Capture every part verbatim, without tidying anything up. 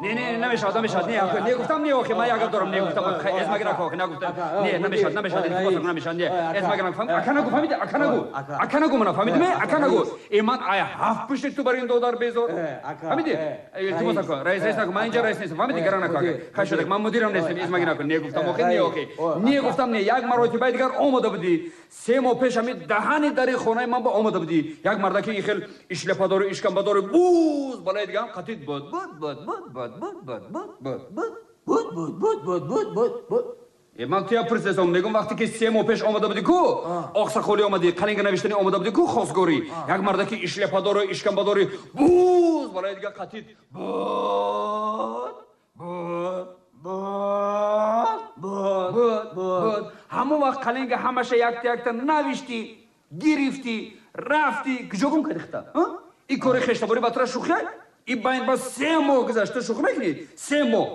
Не, не, намешавад, намешавад. Не, охи, не гуфтам, не, охи, ман як гап дорам, не гуфтам, аз магира охи, нагуфтам. Не, намешавад, намешавад, илтимос, намешавад, не. Аз магира фаҳм, ака нагу, фаҳмиди, ака нагу. Ака нагу мана, фаҳмиди ме? Ака нагу. Э, ман ай ҳафт пушти ту бар ин додар безор. Фаҳмиди? Илтимос ака, раис, раис нагу, ман инҷа раис нестам, фаҳмиди? Гара наку, ака. Хай шудак, ман мудирам нестам, из магира наку. Не гуфтам, охи, не, охи. Не гуфтам, не, як маротибаи дигар омода будӣ. Се моҳ пеш ҳами даҳани дари хонаи ман ба омода будӣ. Як мардаки ин хел ишлепадору ишкамбадору буз балаи дигаам қатид буд, буд, буд, буд, буд, буд, буд, буд, буд, буд. Буд, буд, буд, буд, буд, буд, буд. Э, ман туя пурсидам, мегум вақте ки се моҳ пеш омода будӣ ку, оқсақолӣ омадӣ, қалинга навиштанӣ омода будӣ ку, хосгорӣ. Як мардаки ишлепадору ишкамбадори буз балаи дига қатид буд, буд, буд, буд, буд, буд. Ҳамон вақт қалинга ҳамаша якта якта навиштӣ, гирифтӣ, рафтӣ, куҷо гум кардӣ хита? Ин кори хештаборӣ ба тура шӯхия? Ин байн ба се моҳ гузашт, ту шӯхӣ мекунӣ? Се моҳ.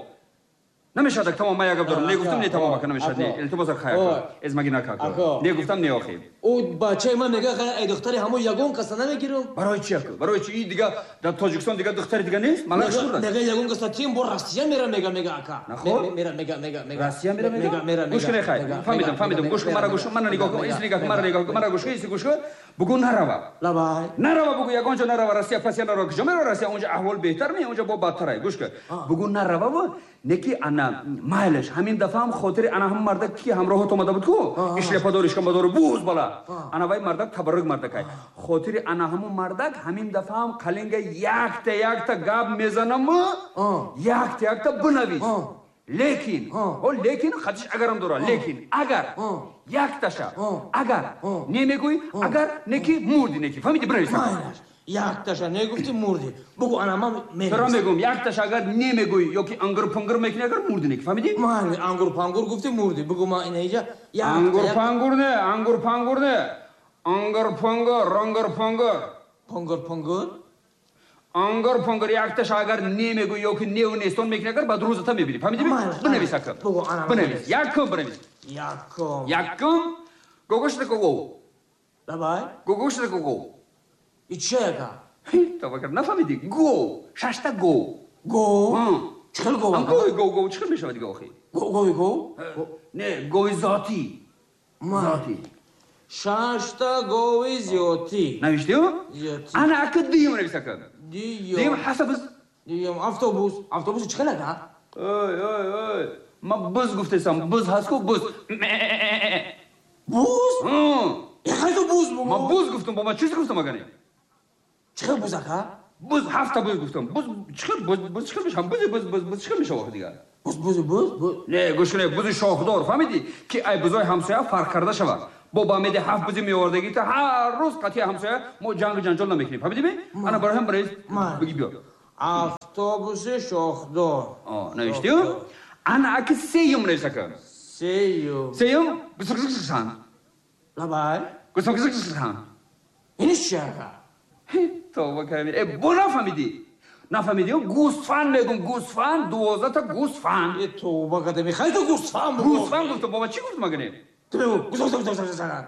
Намешавад, тамом, ман як гап дорам. Не гуфтам, не, тамом, ака, намешавад, не. Илтимос, хай, ака. Аз маги нака, ака. Не гуфтам, не, охи. Ӯ бачаи ман мега, ай духтари ҳамон ягон каса намегирам. Барои чи, ака? Барои чи? И дига дар Тоҷикистон дига духтари дига нест? Ман нашурдам. Мега ягон каса тим бо Россия мера, мега, мега, ака. Наход? Мера, мега, мега, мега. Россия мера, мега? Мега, мера, Гӯш кунед, хай. Фаҳмидам, фаҳмидам. Гӯш кун, мара гӯш кун, мана нигоҳ кун, ис нигоҳ кун, мара нигоҳ кун, мара гӯш кун, ис гӯш кун. Бугӯ нарава. Лабай. Нарава, бугӯ ягон ҷо нарава, Россия пасия нарава. Куҷо мерава Россия? Онҷо аҳвол беҳтар ме, онҷо бо бадтарай. Гӯш кун. Бугӯ нарава ва неки ана майлаш ҳамин дафъа ҳам хотири ана ҳам мардак ки ҳамроҳат омада буд ку, ишлепадор, ишкамбадору буз бала. Ана вай мардак табаррук мардакай. Хотири ана ҳамун мардак ҳамин дафъа ҳам қалинга якта якта гап мезанам, якта якта бинавис. Лекин, о лекин хатиш агарам дора, лекин агар якташа, агар не мегӯӣ, агар неки мурди неки. Фаҳмиди, бинавис. Якташа не гуфти мурди. Бугу ана ман меравам. Тура мегӯм, якташа агар не мегӯӣ ёки ангур пангур мекунӣ, агар мурди неки. Фаҳмиди? Ман ангур пангур гуфти мурди. Бугу ман ина иҷа ангур пангур не, ангур пангур не. Ангур пангур, ангур пангур. Пангур пангур? Ангур пангур якташа агар не мегӯӣ ёки неву нестон мекунӣ, агар баъд рӯзата мебинӣ. Фаҳмиди? Бинавис ака. Бинавис. Якум бинавис. Якум. Якум. Гогошта гого. Давай. Гогошта гого. И че ака? Тавакар, нафаҳмидӣ? Го, шашта го. Го? Чӣ хел го? Гои го, го, чӣ хел мешавад дига охи? Го, гои го? Не, гои зотӣ. Зотӣ. Шашта гои зиётӣ. Навиштӣ? Зиётӣ. Ана ака дуюм навис ака. Дуюм. Дуюм ҳасаб. Дуюм автобус. Автобус чӣ хел ака? Ой, ой, ой. Ман буз гуфтесам, буз ҳаст ку, буз. Буз? Хай ту буз бу. Ман буз гуфтам, бо ман чиз гуфтам агане? Чӣ хел буз ака? Буз ҳафта буз гуфтам. Буз чӣ хел буз, буз чӣ хел мешавад? Буз, буз, буз, буз чӣ хел мешавад дигар? Буз, буз, буз, буз. Не, гӯш кунед, бузи шохдор, фаҳмидӣ? Ки ай бузои ҳамсоя фарқ карда шавад. Бо ба меди ҳафт бузи меовардагӣ та ҳар рӯз қатъи ҳамсоя мо ҷангу ҷанҷол намекунем. Фаҳмидӣ ме? Ана барои ҳам барои бигӣ биё. Автобуси шохдор. О, навиштӣ? Ана аки сеюм навис ака. Сеюм. Сеюм гусакгусаксан. Лабай. Гусакгусаксан. Ин чӣ ака? Тавба кардем. Э, бо нафаҳмидӣ? Нафаҳмидӣ? Гӯсфанд мегум, гӯсфанд, дувоздаҳта гӯсфанд. Э, тавба кардем. Хай ту гӯсфанд бугу. Гӯсфанд гуфтам, бобо чӣ гуфтам агане? Ту мегу гӯсфанд.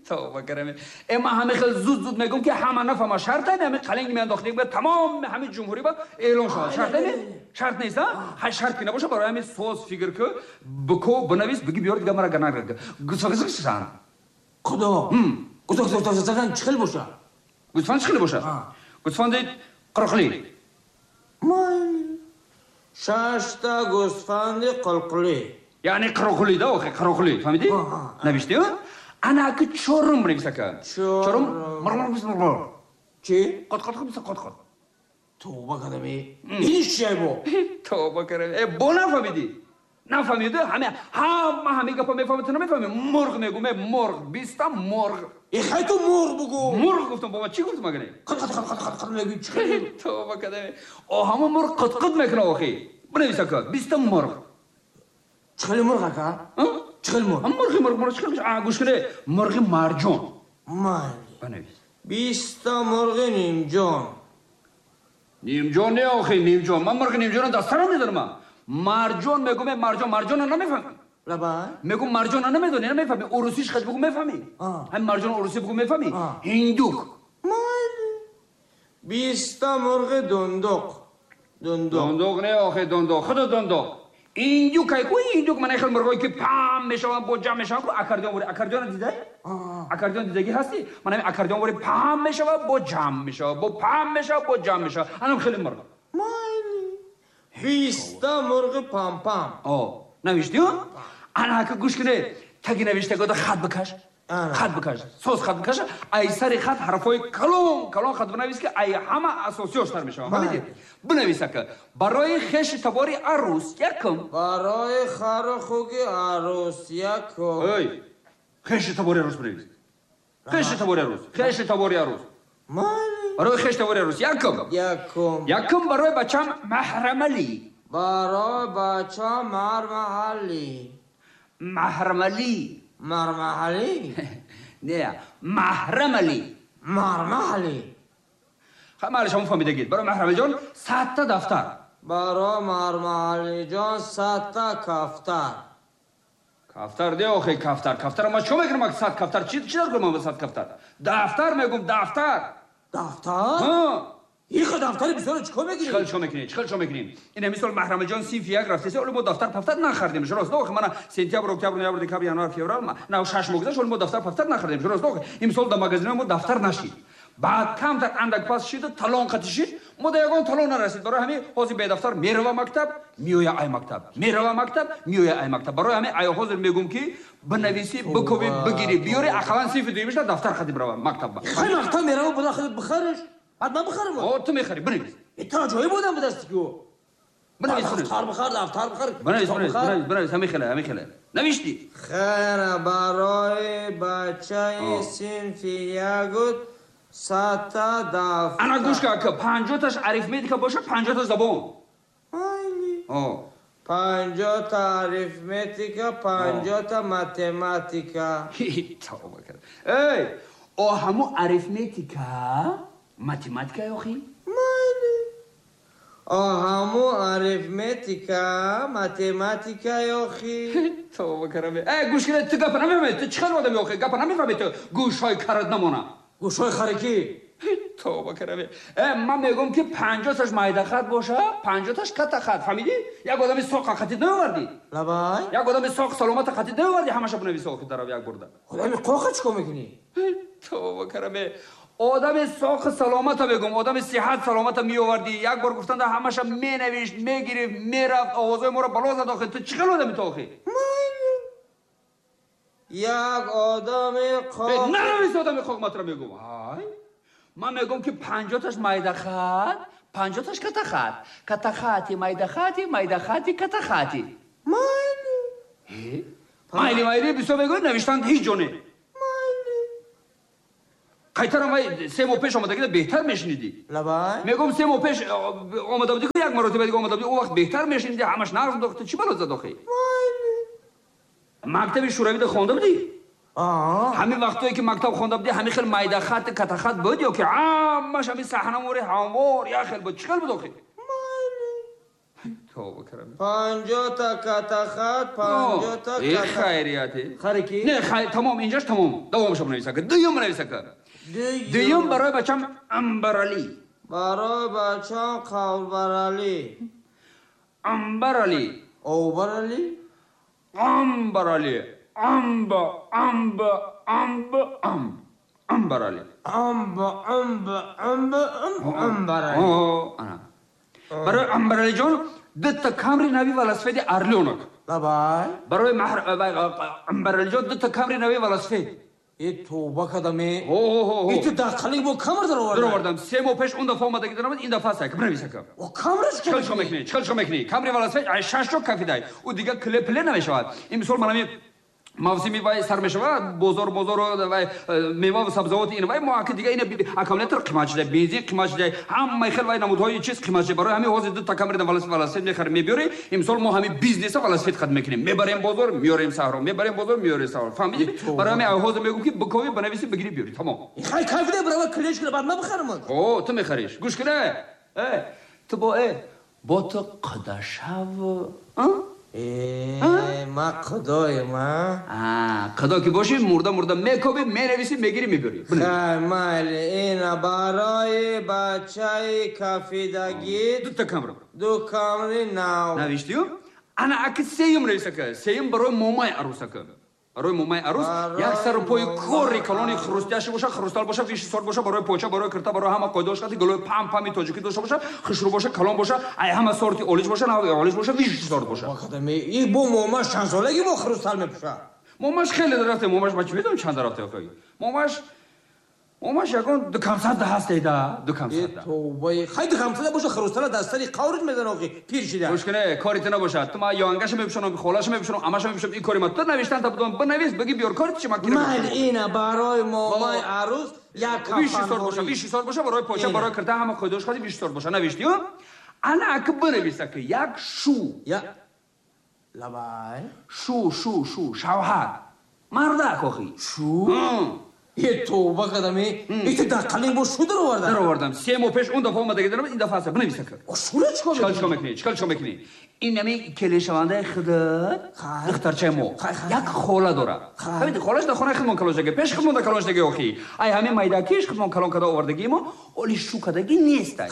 Тавба кардем. Э, ман ҳамин хел зуд зуд мегум ки ҳама нафаҳма. Шарт не, ҳамин қалинг меандохтем ба тамом ҳамин ҷумҳурӣ ба эълон шавад. Шарт не? Шарт нест, а? Ҳай шарт ки набошад, барои ҳамин соз фикр ку, бико, бинавис, бигӣ биёр дига мара ганаг. Гӯсфанд. Худо. Гӯсфанд чӣ хел бошад? Гӯсфанд чӣ хел бошад? Гӯсфанди қирқлӣ. Май. Шашта гӯсфанди қилқлӣ. Яъне қироқлӣ да, охи қироқлӣ. Фаҳмидӣ? Навиштӣ? Ана аки чорум бинавис ака. Чорум мурмур бис мурмур. Чӣ? Қот қот бис қот қот. Тавба кардам. Ин чӣ бо? Тавба кардам. Э, бо нафаҳмидӣ? Нафаҳмидӣ? Ҳама ҳама ҳамин гапа мефаҳмӣ, ту намефаҳмӣ? Мурғ мегӯм, э, мурғ, биста мурғ. Э, хай ту мурғ бугӯ. Мурғ гуфтам, бобо, чӣ гуфтам агане? Қит қит қит қит қит мегӯӣ, чӣ хел? Тавба кардам. О, ҳамон мурғ қит қит мекунад охи. Бинавис ака, биста мурғ. Чӣ хел мурғ ака? Чӣ хел мурғ? Мурғи мурғ, мурғ чӣ хел? А, гӯш кунед, мурғи марҷон. Майли. Бинавис. Биста мурғи нимҷон. Нимҷон не охи, нимҷон. Ман мурғи нимҷонро дар сарам медонам. Марҷон мегӯм, марҷон, марҷонро намефаҳмӣ. Лабай? Мегӯм марҷонро намедонӣ, намефаҳмӣ. Урусиш хач бугӯ мефаҳмӣ. Ҳамин марҷон урусӣ бугӯ мефаҳмӣ. Ҳиндук. Майли. Биста мурғи дундуқ. Дундуқ. Дундуқ не охе дундуқ. Худо дундуқ. Индюк ай ку индюк мана хел мурғое ки пам мешаванд бо ҷамъ мешаванд ку аккордеон вори аккордеон дидай? Аккордеон дидагӣ ҳастӣ? Мана ҳамин аккордеон вори пам мешавад бо ҷамъ мешавад, бо пам мешавад бо ҷамъ мешавад. Анам хеле мурғ. Майли. Биста мурғи пам-пам. О, навиштӣ? Ана ака гӯш куне. Таги навиштагода хат бикаш. Хат бикаш. Соз хат бикаш. Ай сари хат ҳарфҳои калон калон хат бинавис ки ай ҳама асосиёштар мешаванд. Фаҳмидӣ? Бинавис ака. Барои хеши табори арӯс якум. Барои хару хуги арӯс якум. Эй, хеши табори арӯс бинавис. Хеши табори арӯс. Хеши табори арӯс. Майли. Барои хеши табори арӯс якум. Якум. Якум барои бачам Маҳрамалӣ. Барои бачам Мармаҳалӣ. Маҳрамалӣ. Мармаҳалӣ? Не, Маҳрамалӣ. Мармаҳалӣ. Хай маҳали шумо фаҳмидагид. Барои Маҳрамалиҷон садта дафтар. Барои Мармаҳалиҷон садта кафтар. Кафтар де охе кафтар. Кафтар ма чо мекунам сад кафтар? Чи чи дар кунам сад кафтар? Дафтар мегум, дафтар. Дафтар? Ҳа. Ихо дафтари бисёр чикор мекунӣ? Чикор чикор мекунӣ? Чикор чикор мекунӣ? Ин мисол Маҳрамалиҷон синфи як рафтеса, оле мо дафтар пафтар нахардем. Рост охе мана сентябр, октябр, ноябр, декабр, январ, феврал, на шаш моҳ гузашт, оле мо дафтар пафтар нахардем. Рост охе имсол дар магазинҳои мо дафтар нашид. Баъд камтар андак пас шид, талон қатӣ шид, мо да ягон талон нарасид. Барои ҳамин ҳозир бедафтар мерава мактаб, меоя ай мактаб. Мерава мактаб, меоя ай мактаб. Барои ҳамин ай ҳозир мегум ки бинависӣ, бикӯбӣ, бигирӣ, биёрӣ, ақаллан синфи дуюмишда дафтар қатӣ бирава мактаб. Хай мактаб мерава, буда худат бихариш. Баъд ман бихарам. О, ту мехарӣ, бинавис. Та ҷое будам ба дасти ку. Бинавис, дафтар бихар, дафтар бихар. Бинавис, бинавис, бинавис, бинавис, ҳамин хеле, ҳамин хеле. Навиштӣ? Хайр, барои бачаи синфи ягуд садта дафтар. Ана гӯш кун, ака, панҷоҳташ арифметика бошад, панҷоҳта забон. Майли. О. Панҷоҳта арифметика, панҷоҳта математика. Тавба кард. Эй, о ҳаму арифметика математика ёхи? Майли. О ҳаму арифметика математика ёхи? Тавба карам. Эй, гӯш кун, ту гапа намефаҳмӣ, ту чӣ хел одами охи? Гапа намефаҳмӣ ту? Гӯшҳои карат намона. Гӯшҳои харикӣ? Тавба карам. Э, ман мегӯм ки панҷоҳташ майдахат боша, панҷоҳташ каттахат, фаҳмидӣ? Як одами соқ қатӣ наовардӣ. Лабай? Як одами соқ саломата қатӣ наовардӣ, ҳамаша бинавис охи дарав як бурда. Одами қоқа чикор мекунӣ? Тавба карам. Одами соқ саломата мегӯм, одами сиҳат саломата меовардӣ. Як бор гуфтанда ҳамаша менавишт, мегирифт, мерафт, овозҳои моро бало зад охи. Ту чӣ хел одами ту охи? Як одами қоқ. Нанавис одами қоқ матра мегӯм. Ҳай. Ман мегӯм ки панҷоҳташ майдахат, панҷоҳташ каттахат. Каттахати, майдахати, майдахати, каттахати. Майли. Майли, майли, бисёр мегӯӣ, навиштанд ҳеҷ ҷо не. Майли. Қайтарам вай се моҳ пеш омадагида беҳтар мешунидӣ. Лабай? Мегӯм се моҳ пеш омада будӣ, як маротиба дига омада будӣ, он вақт беҳтар мешунидӣ, ҳамаш нағз дохт, чӣ бало зад охи? Майли. Мактаби шӯравида хонда будӣ? Ҳамин ҳамин вақтое ки мактаб хонда будӣ, ҳамин хел майдахат, каттахат буд ё ки ҳамаш ҳамин саҳнамори ҳамвор як хел буд? Чӣ хел буд охи? Майли. Тавба карам. Панҷоҳта каттахат, панҷоҳта э хайрияте. Харикӣ? Не, хай тамом, инҷаш тамом. Давомашо бинавис ака. Дуюм бинавис ака. Дуюм барои бачам Амбаралӣ. Барои бачам Қавбаралӣ. Амбаралӣ. Овбаралӣ? Амбаралӣ. Амба, амба, амба, амб. Амбаралӣ. Амба, амба, амба, амб, Амбаралӣ. О, ана. Барои Амбаралиҷон дута камри нави велосипеди Орлёнок. Лабай? Барои Амбаралиҷон дута камри нави велосипед. Э, тавба кардаме. Ҳо, ҳо, ҳо. Э, ту дар қалиби бо камр даровардӣ? Даровардам. Се моҳ пеш он дафъа омадаги даромад, ин дафъа аст. Бинавис ака. О, камраш чикор чикор мекунӣ? Чикор чикор мекунӣ? Камри велосипед ай шаш ҷо кафидай. Ӯ дига кле пле намешавад. Ин мисол ман ҳамин мавсими вай сар мешавад, бозор бозор вай мева ва сабзавот ин вай мо аки дига ина аккумулятор қимат шуда, бензин қимат шуда, ҳамаи хел вай намудҳои чиз қимат шуда. Барои ҳамин ҳозир дута камри велосипед мехарем, мебиёрем. Имсол мо ҳамин бизнеса велосипед қад мекунем. Мебарем бозор, меорем саҳро, мебарем бозор, меорем саҳро. Фаҳмидӣ? Барои ҳамин ҳозир мегӯм ки бикови, бинависӣ, бигирӣ, биёрӣ. Тамом. Хай кайфида барава клеш кунам, баъд ман бихарам. О, ту мехариш. Гӯш кун, э. Ту бо э бо ту қадашав, а? Э, ма қудоем, а? А, қудо ки бошӣ, мурда мурда мекобӣ, менависӣ, мегирӣ, мебарӣ. Хай, майли, ина барои бачаи кафидагӣ дута камра. Ду камри нав. Навиштию? Ана аки сеюм нависака. Сеюм барои момаи арӯсака. Барои момаи арӯс як сару пои кори калони хрустяши боша, хрустал боша, виши сорт боша, барои поча, барои кирта, барои ҳама қоидаош қати гулои пам пами тоҷикӣ дошта боша, хушрӯ боша, калон боша, ай ҳама сорти олиш боша, нави олиш боша, виши сорт боша. И бо момаш чанд солаги бо хрустал мепӯша? Момаш хеле дарафте, момаш ма чӣ медонам чанд дарафте охи. Момаш момаш ягон ду камсад да ҳаст да, ду камсад да. Тавбаи, хай ду камсад боша, хрустала дар сари қаврит мезана охи, пир шида. Гӯш кне, кори ту набошад. Ту ма ёангаша мепӯшонам, холаша мепӯшонам, амаша мепӯшонам, ин кори ма. Ту навиштан та будам, бинавис, бигӣ биёр, кори чи ма кира. Майли, ина барои момаи арӯс як виши сорт боша, виши сорт боша, барои поча, барои кирта ҳама қоидаош хади виши сорт боша. Навиштию? Ана аки бинавис аки як шу. Я лабай. Шу, шу, шу, шавҳар. Мардак охи. Шу? Е тавба кадами, ит дар қалин бо шу даровардам. Даровардам. Се моҳ пеш он дафъа омадаги дарам, ин дафъа аста. Бинавис ака. Шура чикор мекунӣ? Чикор мекунӣ? Чикор чикор мекунӣ? Ин ами келешавандаи худат, духтарчаи мо, як хола дорад. Ҳамин холаш дар хонаи худмон калон шудаги, пеш худмон дар калон шудаги охи. Ай ҳамин майдакиш худмон калон када овардагии мо, оли шу кадаги нестай.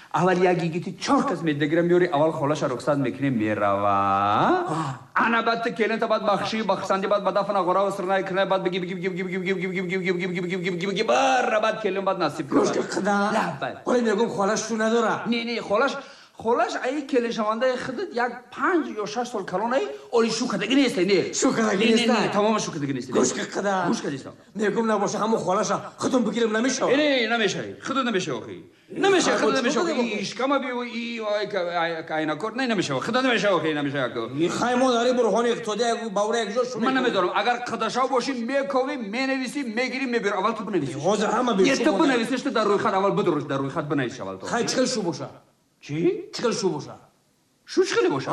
Аввал як йигити чор кас медагира меёри, аввал холаша рухсат мекунӣ, мерава. Ана баъд ту келинта баъд бахши, бахшанди баъд ба дафна ғора сирнай кирнай баъд биги биги биги биги биги биги биги биги биги биги биги биги биги бара баъд келин баъд насиб кунад. Гӯш қада. Лаббай. Оли мегӯм холаш шу надора. Не, не, холаш холаш ай келиншавандаи худат як панҷ ё шаш сол калон ай, оли шу кадаги нестай, не. Шу кадаги нестай. Не, тамоман шу кадаги нестай. Гӯш қада. Гӯш кадистам. Мегӯм набоша ҳамон холаша худум бигирем намешавад. Не, намешавад. Худат намешавад охи. Намешавад, худат намешавад. И шикама биу, и айнакор, не намешавад. Худат намешавад охи, намешавад. Хай мо дари бурҳони иқтисодӣ бавра як ҷо шу. Ман намедонам, агар қадашав бошӣ, мековӣ, менависӣ, мегирӣ, мебирӣ. Аввал ту бинависӣ. Ҳозир ҳама бе. Не, ту бинависиш, ту дар рӯйхат аввал бидуруш, дар рӯйхат бинавис аввал ту. Хай чӣ хел шу боша? Чӣ? Чӣ хел шу боша? Шу чӣ хеле боша?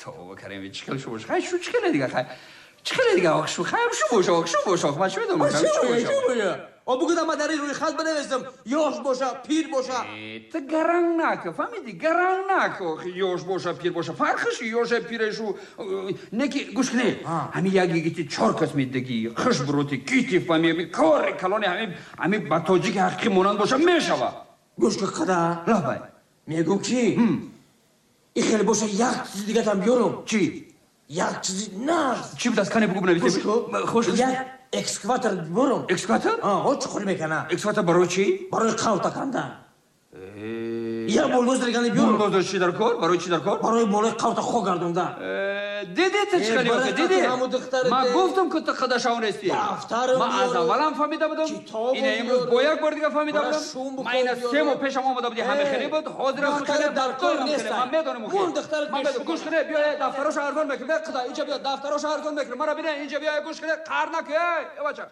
Тавба карем, чӣ хел шу боша? Хай шу чӣ хеле дига, хай. Чӣ хеле дига, ох шу, хай шу боша, ох шу боша, ох ман чӣ медонам, шу боша. О бугӯ ман дар ин рӯйхат бинависам, ёш боша, пир боша. Ту гаранг нака, фаҳмидӣ? Гаранг нака, ох ёш боша, пир боша. Фарқиш ёша, пирашу. Неки, гӯш кне. Ҳамин як йигити чор кас медагӣ, хуш буроти, кити фаҳми, кори калони ҳамин, ҳамин ба тоҷики ҳақиқӣ монанд боша, мешава. Гӯш кун қада. Лаббай. Мегӯм ки ин хеле боша як чизи дигатам биёрам. Чӣ? Як чизи нағз. Чӣ буд аз кане бугӯ бинависем? Хуш як экскаватор биёрам. Экскаватор? Ҳо, чуқур мекана. Экскаватор барои чӣ? Барои қавта кандан. Як булдозер гани биёрам. Булдозер чӣ дар кор? Барои чӣ дар кор? Барои болои қавта хок гардондан. Дидӣ ту чӣ хеле охи, дидӣ? Ман гуфтам ки ту қадашав нестӣ. Ман аз аввалам фаҳмида будам. Ина имрӯз бо як бор дига фаҳмида будам. Ман ина се моҳ пешам омада будӣ, ҳама хеле буд, ҳозирам хеле дар кор нест. Ман медонам охи. Ман медонам. Гӯш кунед, биё дафтароша арзон мекунем. Қуда, инҷа биё, дафтароша арзон мекунем. Мара бина, инҷа биё, гӯш кунед, қаҳр накун, эй, бача.